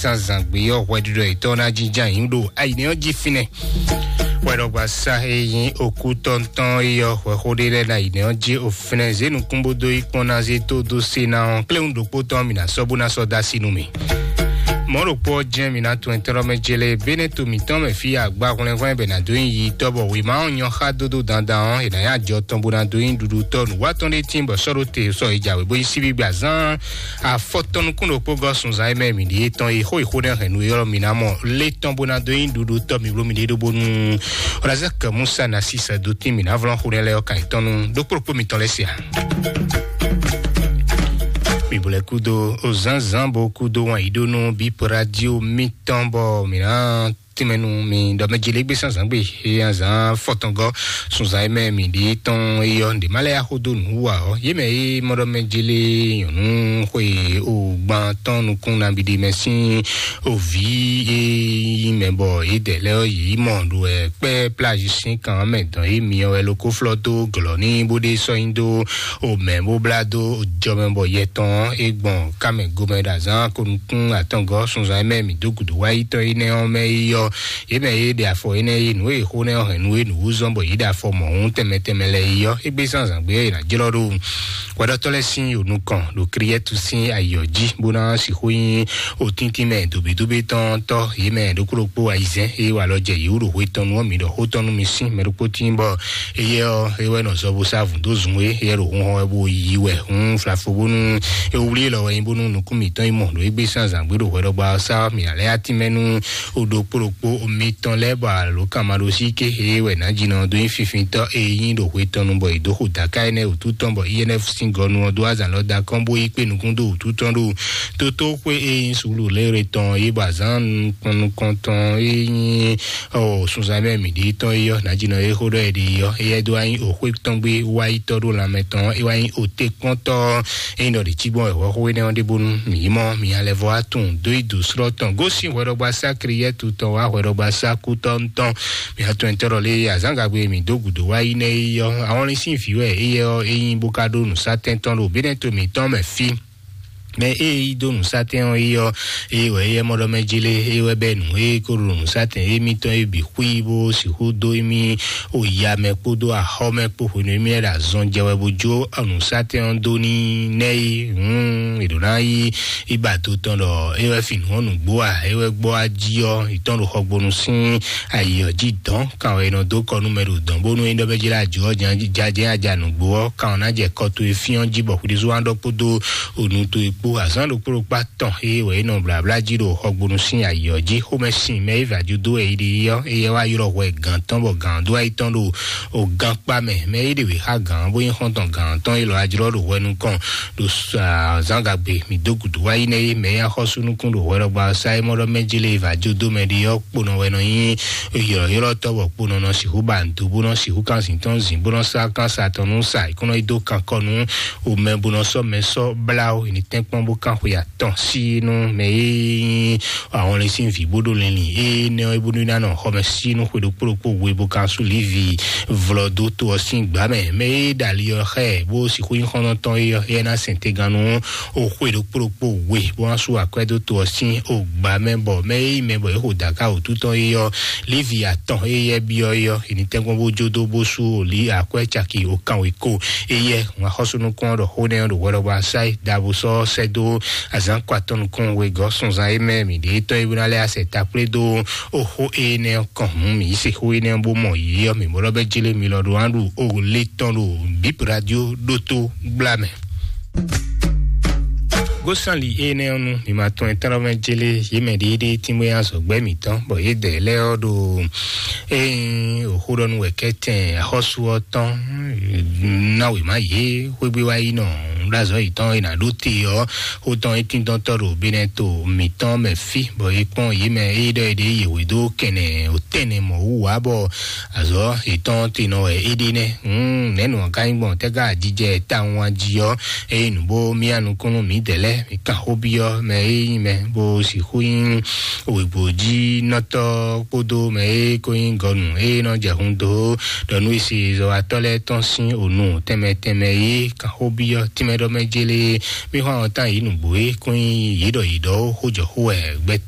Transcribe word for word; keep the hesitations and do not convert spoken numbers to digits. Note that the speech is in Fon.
Tanzangbe ɔ́, hwɛɖiɖɔ yětɔn ná jínjɔ́n ayǐ ɖo ayǐnɛ́ ɔ́ jí fínɛ́. Hwɛɖɔgbasá e nyí okú tɔntɔn é ɔ́, hwɛxó ɖé lɛ́ɛ ná ayǐnɛ́ ɔ́ jí òfínɛ́ zě nukún bó dó yí kpɔ́n ná zé tó dó sé ná ɔ́, kléwún ɖokpó tɔn mì ná sɔ́ bó ná sɔ́ dó así nú mì. Mɔ̌ ɖokpó ɔ́ jɛ́n mǐ ná tun ɛntɛ́lɔ́ mɛ jélé Bɛ́nɛ́to mǐtɔn mɛ fí agbáhwlɛ́nhwlɛ́n bɛ ná dó nyi yi tɔ́ bɔ wěma ɔ́ nyɔ́ xá dódó dandan ɔ́, è nǎ nyi ajɔ tɔn bó ná dó nyi ɖuɖutɔ́ nǔwatɔ́ ɖé tíin bɔ sɔ́ ɖó te sɔ e jǎwe bó nyí síbígbe azán afɔtɔn nukún ɖokpó gɔ́ sunzán e mɛ mǐ ɖíe tɔn e xó e xó nɛ́ hɛn nú é ɔ́ mǐ ná mɔ lé tɔn bó ná dó nyi ɖuɖutɔ́ mǐ bló mǐ ɖíe ɖó bónú Razak Musa ná sísɛ dó tíin mǐ ná vlɔ́n xó nɛ́ lɛ́ɛ ɔ́ kan yětɔn nú ɖó kplɔ́kpó mitɔn lɛ́ɛ se ǎ. Mi bo lɛ kúdo o zánzán bo kúdo wan yi ɖó nú Bip Radio mitɔn bɔ mǐ ná tínmɛ nú mi ɖɔ mɛ jeli gbé sánzán gbé eye azán fɔtɔngɔ sunzán yi mɛ mi ɖi tɔn eyɔ nde ma lɛ axo do nǔ wa ɔ ye mɛ ye mɔɖɔ mɛ jeli nyɔnu xwe o gban tɔn nukun nabidi mɛ sín o vi ye yi mɛ bɔ ye dɛ lɛ yi mɔ ɖo ɛ kpɛ plage sín kan mɛ dɔn ye miɔ ɛ loko flɔ dó glɔ ní bó ɖe sɔ nyi dó o mɛ bó blá dó o jɔ mɛ bɔ yɛ tɔn e gbɔn ká mɛ gomɛ ɖo azán ko nukun atɔngɔ sunzan e mɛ mi dó gudu wá yi tɔn yi nɛ ɔn mɛ yi yɔ ye mɛ ye ɖe afɔ yi nɛ yi nǔ e xó nɛ ɔn hɛn nú e nǔ wú zɔn bɔ yi ɖe afɔ mɔ̌hún tɛnmɛ tɛnmɛ lɛ yi yɔ e gbé zán zǎn gbé e ná jlɔ́ ɖo hwɛɖɔtɔ́ lɛ́ɛ sín yǒnú kɔn ɖo Kriɛtu sín ayǐ ɔ́ jí bó ná sixú nyí otíntín mɛ dǒbídóbí tɔn tɔ́ yě mɛ ɖokpó ɖokpó ayizɛ́n e wa lɔ jɛ yě wú ɖo hwe tɔn nu ɔ́ mi ɖɔ xó tɔn nú mi sín mɛ ɖokpó tín bɔ éyɛ́ ɔ́ é wɛ nɔ zɔ bó sá vǔ dó zun é éyɛ́ ɖo hunhɔn wɛ bó yí wɛ hún flafo bónú é wlí lɔ wɛ nyí bónú nukún mǐtɔn yi mɔ ɖo égbé sín azǎn gbé ɖo hwɛɖɔgba ɔ́ sá mǐ ná lɛ́ atínmɛ nú o ɖokpó ɖokpó mitɔn lɛ́ɛ bɔ alo kan ma ɖo sí ké é wɛ nǎ jinɔ dó nyí finfintɔ́ e nyí ɖo hwe tɔn nu bɔ è dó xo dǎká énɛ́ wǔtu tɔn bɔ I N F sín gɔnu ɔ́ dó azǎn lɔ da kɔn bó yi kpé nukún dó wǔtu tɔn ɖo tótó xwé e nyí suúlu lérè tɔn é bɔ azǎn nukɔntɔn e nyí ɔ sunzan mɛ mǐ ɖi tɔn é yɔ nǎ jinɔ é xó ɖɔ é ɖi yɔ é yɛ dó wá nyí òxwé tɔn gbé wá yi tɔ́ ɖó lanmɛ tɔn é wá nyí òté kpɔ́ntɔ́ é nyí ɖɔ ɖě cí gbɔn wɛ hwɛxó énɛ́ ɔ́ ɖé bónú mǐ yi mɔ mǐ alɛ vɔ wá tunwun dó yi dǒ slɔ́ tɔn gosín hwɛɖɔgba sá Kriɛtu tɔn wá hwɛɖɔgba sá kú tɔn tɔn mǐ atɔn tɔ́ lé azǎngagbe mǐ dó gǔdo wá yi nɛ́ é yɔ ahɔnlin sín vǐ wɛ é yɛ ɔ́ é nyí bó ká ɖó nǔsátɛn tɔn ɖo bínɛ́ to mǐtɔn mɛ fí mɛ e yi dó nǔsátɛn ɔ́ yi ɔ́ eye wɛ eyɛ mɔɖɔ mɛ jele eye wɛ bɛ nǔ e ko ɖo nǔsátɛn émítɔn e bǐ xwí bó sixú dó émí o ya mɛ kpódó axɔ mɛ kpó hwenu émí lɛ́ ɖo azɔn jɛ wɛ bó jó nǔsátɛn ɔ́ dó ní nɛ́ yi hǔn è ɖǒ ná yí iba do tɔn ɖɔ é wɛ fin nǔ ɔ́ nǔgbó a é wɛ gbɔ ají ɔ́ yi tɔn ɖo xɔgbonu sín ayi ɔ́ jí dɔn kan wɛ è nɔ dó kɔ nú mɛ ɖo dɔn bónú é ɖɔ bɛ jlá ajǒ ɔ́ jajɛ aja nǔgbó ɔ́ kan ɔ́ ná jɛ kɔ towe fín ɔ́ jí bɔ xwíɖésú wá ɖɔ kpódó onu towe kpó azǎn ɖokpó ɖokpó atɔn é wɛ é nɔ blabla jí ɖo xɔgbonu sín ayi ɔ́ jí xomɛ sin mɛ é vǎ jú dó wɛ é ɖi ɔ́ éyɛ́ wá ylɔ́ hwɛ gǎn tɔn bɔ gǎn dó ayi tɔn ɖo o gán kpá mɛ mɛ é ɖe wě xá gǎn bó nyí xɔ́ntɔn gǎn tɔn é lɔ ajlɔ́ ɖo hwɛ nukɔn ɖo zǎngagbe mǐ dó gǔdo wá yi nɛ́ é mɛ é axɔ́sú nukún ɖo hwɛɖɔgba ɔ́ sá é mɔ ɖɔ mɛ jélé vǎ jó dó mɛ ɖi ɔ́ kponɔ wɛ nɔ nyí ylɔ̌ylɔ́tɔ́ bɔ kponɔ nɔ sixú ba nǔ dó bó nɔ sixú kán zǐn tɔn zǐn bó nɔ sá kán sa tɔn nú sa é kó nɔ yi dó kankɔ nú omɛ bó nɔ sɔ́ mɛ sɔ́ blá ó è ní tɛ́nkpɔ́n bó kán xwe atɔn sí nú mɛ e nyí ahɔnlin sín vǐ bó ɖó linlin énɛ́ ɔ́ bónú ná nɔ xɔmɛ sí nú xwe ɖokpó ɖokpó we bó kán sú lívi vlɔ dó to ɔ́ sín gbǎ mɛ mɛ e ɖo ali ɔ́ xá ɛ bó sixú nyí xɔ́ntɔn tɔn é ɔ́ éyɛ́ ná sɛn tegannú o xwe ɖokpó ɖokpó we bó ná sú akwɛ́ dó to ɔ́ sín o gbǎ mɛ bɔ mɛ e nyí mɛ bɔ é xo dǎká wǔtu tɔn é ɔ́ lívi atɔn éyɛ́ byɔ́ é ɔ́ è ní tɛ́nkpɔ́n bó jó dó bó sú o lí akwɛ́ caki o kanwekó éyɛ́ ŋun axɔ́sú nukún ɔ́ ɖɔ xó nɛ́ ɔ́ ɖo hwɛɖɔgbá sá é ɖabu sɔ́ sɛ́ dó azǎn kɔ atɔn nukún wegɔ́ sunzan é mɛ mǐ ɖe tɔ́ é bó ná lɛ́ asɛ takplé dó o xó énɛ́ ɔ́ kɔn hǔn mǐ yi se xó énɛ́ ɔ́ bó mɔ yě ɔ́ mǐ mɔ ɖɔ bɛ́ jélé mi lɔ ɖo wá ɖu o lé tɔn ɖo bíp radio ɖótó gbla mɛ. Gósánli énɛ́ ɔ́ nu mi ma tɔn ɛ tɔn mɛ jélé yě mɛ ɖééɖéé tínbɔ́ yá zɔ̌gbɛ́ mǐtɔn bɔ yě dɛ lɛ́ ɔ́ ɖo ée òxó ɖɔ nú wɛ kɛ́tɛn axɔ́sú ɔ́ tɔn ná wěma yě xwégbé wá yi nɔ ɖo azɔ̌ yětɔn e nǎ ɖó te ɔ́ xó tɔn é tíndɔ́ntɔ́ ɖo bínɛ́ to mǐtɔn mɛ fí bɔ é kpɔ́n yě mɛ é ɖɔ é ɖě yě hwedó kɛnɛ òtɛnɛ mɔ̌ wú wǎ bɔ azɔ̌ yětɔn te nɔ wɛ é ɖe nɛ́. Nɛ̌nu ɔ́ ka nyí gbɔn tɛ́ ká jijɛ tawun wá jí ɔ́ eye nǔ bó mía nukúnnú mǐdɛɛ lɛ́ɛ mǐ kan xó byɔ́ mɛ e nyí mɛ bó sixú nyí wěgbójínɔtɔ́ kpódó mɛ e ko nyí gɔnu e nɔ jɛ hun dó ɖɔ nú e se zɔwatɔ́ lɛ́ɛ tɔn sín ònu tɛnmɛ tɛnmɛ e kan xó byɔ́ tínmɛ ɖɔ mɛ jélé mí xɔ àwọn tán yě nǔgbó e ko nyí yě ɖɔ yě ɖɔ ó xó jɔ xó wɛ gbɛtɔ́